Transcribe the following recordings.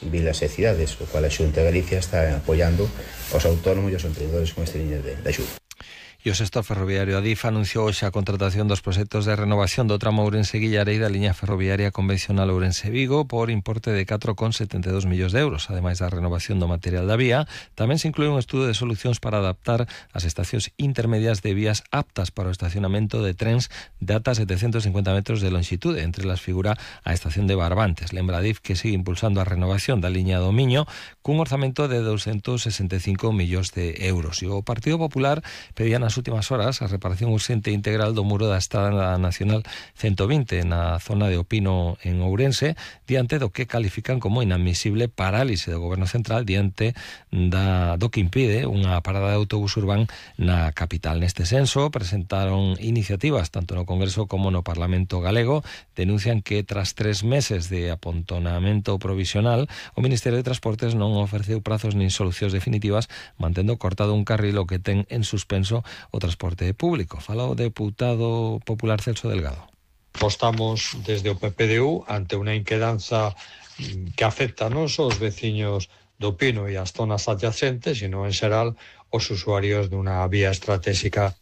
vilas e cidades, o cual a Xunta de Galicia está apoiando aos autónomos e aos emprendedores con esta liña de axuda. E o sector ferroviario Adif anunciou hoxe a contratación dos proxectos de renovación do tramo Ourense-Guillarei da liña ferroviaria convencional Ourense-Vigo por importe de 4,72 millóns de euros. Ademais da renovación do material da vía, tamén se inclúe un estudo de solucións para adaptar as estacións intermedias de vías aptas para o estacionamento de trens de ata 750 metros de longitude. Entre las figura a estación de Barbantes. Lembra Adif que sigue impulsando a renovación da liña do Miño cun orzamento de 265 millóns de euros. E o Partido Popular pedía nas últimas horas a reparación urxente e integral do muro da Estrada Nacional 120 na zona de Opino en Ourense, diante do que califican como inadmisible parálise do Goberno Central diante do que impide unha parada de autobús urbán na capital. Neste senso, presentaron iniciativas tanto no Congreso como no Parlamento galego. Denuncian que tras 3 meses de apontonamento provisional, o Ministerio de Transportes non ofreceu prazos nin solucións definitivas, mantendo cortado un carril o que ten en suspenso o transporte público. Fala o deputado popular Celso Delgado. Apostamos desde o PPDU ante unha inquedanza que afecta non só os veciños do Pino e as zonas adyacentes, sino en xeral os usuarios dunha vía estratégica.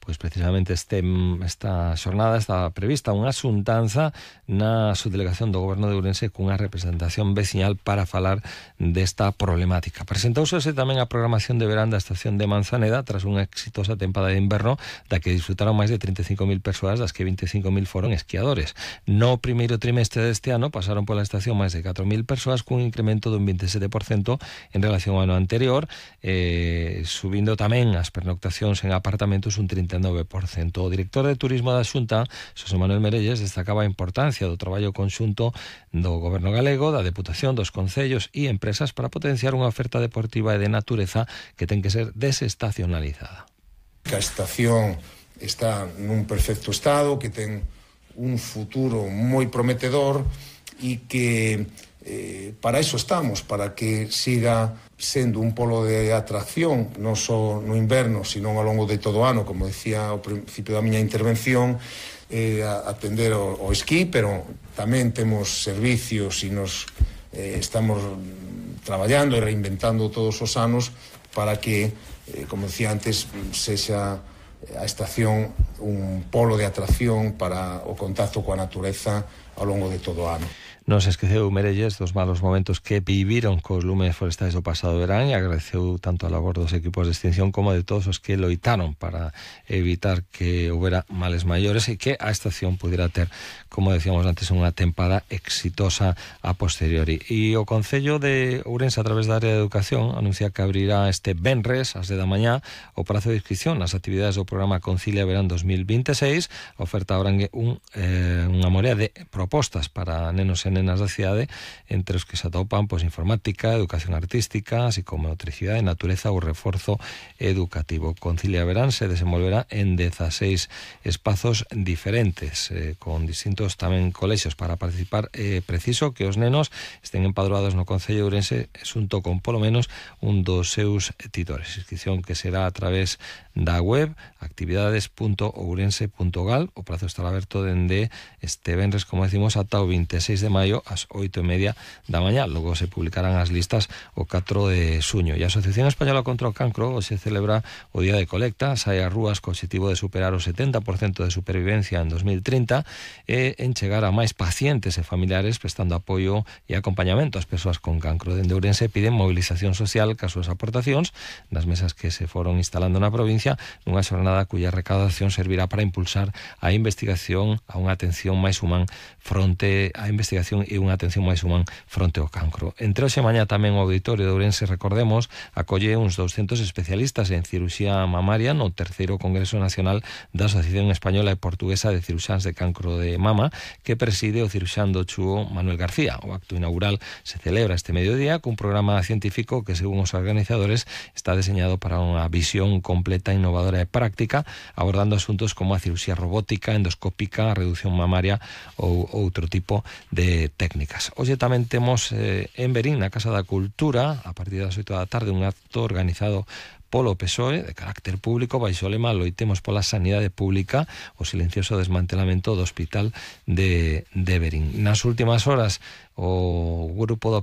Pois precisamente esta xornada está prevista unha xuntanza na subdelegación do Goberno de Ourense cunha representación veciñal para falar desta problemática. Presentouse tamén a programación de verán da estación de Manzaneda tras unha exitosa tempada de inverno da que disfrutaron máis de 35.000 persoas, das que 25.000 foron esquiadores. No primeiro trimestre deste ano pasaron pola estación máis de 4.000 persoas cun incremento dun 27% en relación ao ano anterior, subindo tamén as pernoctacións en apartamentos un 39%. O director de Turismo da Xunta, Xosé Manuel Merelles, destacaba a importancia do traballo conxunto do Goberno galego, da Deputación, dos concellos e empresas para potenciar unha oferta deportiva e de natureza que ten que ser desestacionalizada. Que a estación está nun perfecto estado, que ten un futuro moi prometedor e que para iso estamos, para que siga sendo un polo de atracción non só no inverno, sino ao longo de todo o ano, como decía ao principio da miña intervención, atender ao esquí, pero tamén temos servicios e nos estamos traballando e reinventando todos os anos para que, como decía antes, sexa a estación un polo de atracción para o contacto coa natureza ao longo de todo o ano. Non se esqueceu Merelles dos malos momentos que viviron cos lumes forestais do pasado verán e agradeceu tanto a labor dos equipos de extinción como de todos os que loitaron para evitar que houbera males maiores e que a estación pudiera ter, como decíamos antes, unha tempada exitosa a posteriori. E o Concello de Ourense, a través da área de educación, anuncia que abrirá este venres ás 10 da mañá o prazo de inscripción nas actividades do programa Concilia Verán 2026. A oferta abrangue unha morea de propostas para nenos e nenas da cidade, entre os que se atopan informática, educación artística, así como motricidade, natureza ou reforzo educativo. Concilia Verán se desenvolverá en 16 espazos diferentes, con distintos tamén colexios para participar. Preciso que os nenos estén empadroados no Concello de Ourense xunto con polo menos un dos seus titores. Inscripción que será a través da web actividades.ourense.gal. O prazo estará aberto dende este venres, como decimos, ata o 26 de maio ás 8:30 da mañá. Logo se publicarán as listas o 4 de xuño. E a Asociación Española contra o Cancro hoxe celebra o Día de Colecta. Sae ás rúas co objetivo de superar o 70% de supervivencia en 2030 e en chegar a máis pacientes e familiares prestando apoio e acompañamento ás persoas con cancro. Dende Ourense piden movilización social cas súas aportacións nas mesas que se foron instalando na provincia, nunha xornada cuya recaudación servirá para impulsar a investigación a unha atención máis humana fronte á investigación e unha atención máis humana fronte ao cancro. Entre hoxe e mañá tamén o Auditorio de Ourense, recordemos, acolle uns 200 especialistas en cirurxía mamaria no terceiro Congreso Nacional da Asociación Española e Portuguesa de Cirurxáns de Cancro de Mama, que preside o cirurxán do Chúo Manuel García. O acto inaugural se celebra este mediodía cun programa científico que, según os organizadores, está deseñado para unha visión completa, innovadora e práctica, abordando asuntos como a cirurxía robótica, endoscópica, a reducción mamaria ou outro tipo de técnicas. Hoxe tamén temos en Verín, na Casa da Cultura, a partir das 8 da tarde, un acto organizado polo PSOE de carácter público baixo o lema Loitemos pola sanidade pública, o silencioso desmantelamento do Hospital de Verín. Nas últimas horas, o grupo do